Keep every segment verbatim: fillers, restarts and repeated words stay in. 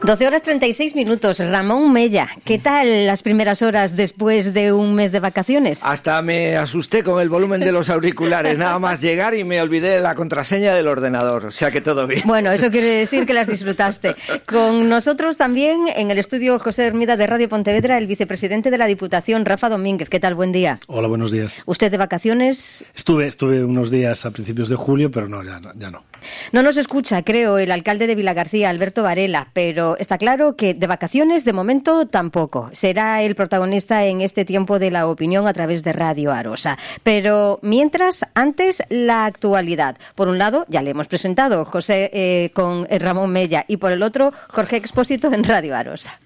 doce horas treinta y seis minutos. Ramón Mella, ¿qué tal las primeras horas después de un mes de vacaciones? Hasta me asusté con el volumen de los auriculares, nada más llegar y me olvidé la contraseña del ordenador, o sea que todo bien. Bueno, eso quiere decir que las disfrutaste. Con nosotros también en el estudio José Hermida de Radio Pontevedra, el vicepresidente de la Diputación, Rafa Domínguez. ¿Qué tal? Buen día. Hola, buenos días. ¿Usted de vacaciones? Estuve, estuve unos días a principios de julio, pero no, ya, ya no. No nos escucha, creo, el alcalde de Vilagarcía, Alberto Varela, pero está claro que de vacaciones, de momento, tampoco. Será el protagonista en este tiempo de la opinión a través de Radio Arosa. Pero mientras, antes, la actualidad. Por un lado, ya le hemos presentado José eh, con Ramón Mella y por el otro, Jorge Expósito en Radio Arosa.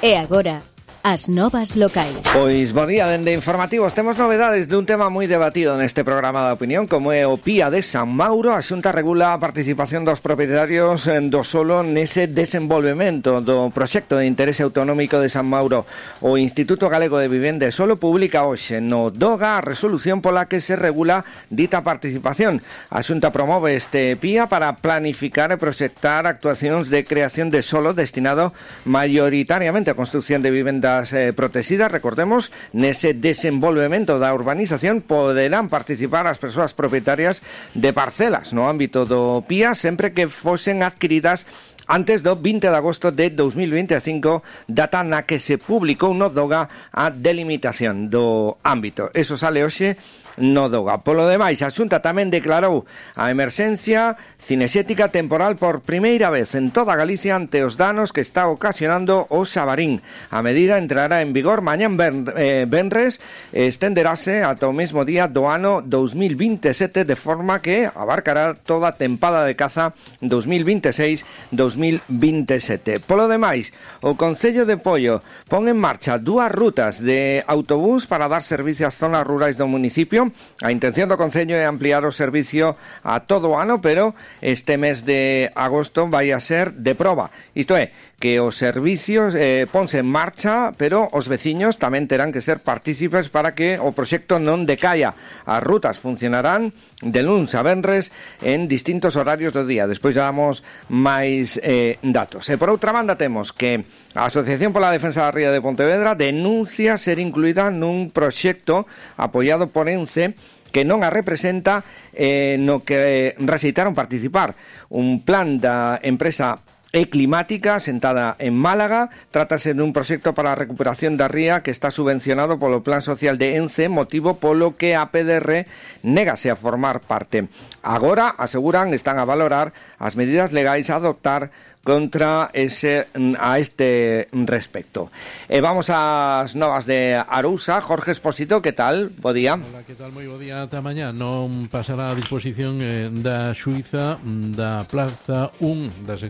E agora, as novas locais. Pois bo día, dende Informativos temos novedades dun tema moi debatido neste programa de opinión, como é o P I A de San Mauro. A Xunta regula a participación dos propietarios do solo nese desenvolvemento do proxecto de interese autonómico de San Mauro. O Instituto Galego de Vivenda e Solo publica hoxe no DOGA a resolución pola que se regula dita participación. A Xunta promove este P I A para planificar e proxectar actuacións de creación de solo destinado maioritariamente a construción de vivendas Eh, protegidas. Recordemos, nese desenvolvemento da urbanización poderán participar as persoas propietarias de parcelas no ámbito do P I A sempre que fosen adquiridas antes do vinte de agosto de dos mil vinte e cinco, data na que se publicou no DOGA a delimitación do ámbito. Eso sale hoxe no DOGA. Polo demais, a Xunta tamén declarou a emerxencia cinexética temporal por primeira vez en toda Galicia ante os danos que está ocasionando o Xabarín. A medida entrará en vigor mañán ben, eh, benres e estenderase ata o mesmo día do ano dos mil vinte e sete, de forma que abarcará toda a tempada de caza dos mil vinte e seis dos mil vinte e sete. Polo demais, o Concello de Pollo pon en marcha dúas rutas de autobús para dar servicio ás zonas rurais do municipio. A intención do Concello é ampliar o servicio a todo o ano, pero este mes de agosto vai a ser de proba. Isto é, que os servicios eh, ponse en marcha, pero os veciños tamén terán que ser partícipes para que o proxecto non decaia. As rutas funcionarán de luns a venres en distintos horarios do día. Despois damos máis eh, datos. E por outra banda temos que a Asociación pola Defensa da Ría de Pontevedra denuncia ser incluída nun proxecto apoiado por ENCE que non a representa eh, no que rexeitaron participar. Un plan da empresa E Climática, sentada en Málaga. Trátase dun proxecto para a recuperación da ría que está subvencionado polo Plan Social de ENCE, motivo polo que a P D R négase a formar parte. Agora, aseguran, están a valorar as medidas legais a adoptar contra ese a este respecto. E vamos ás novas de Arousa. Jorge Expósito, que tal? Bo día. Hola, que tal? Moi bo día ata mañá. Non pasará a disposición eh, da xuíza da Plaza un da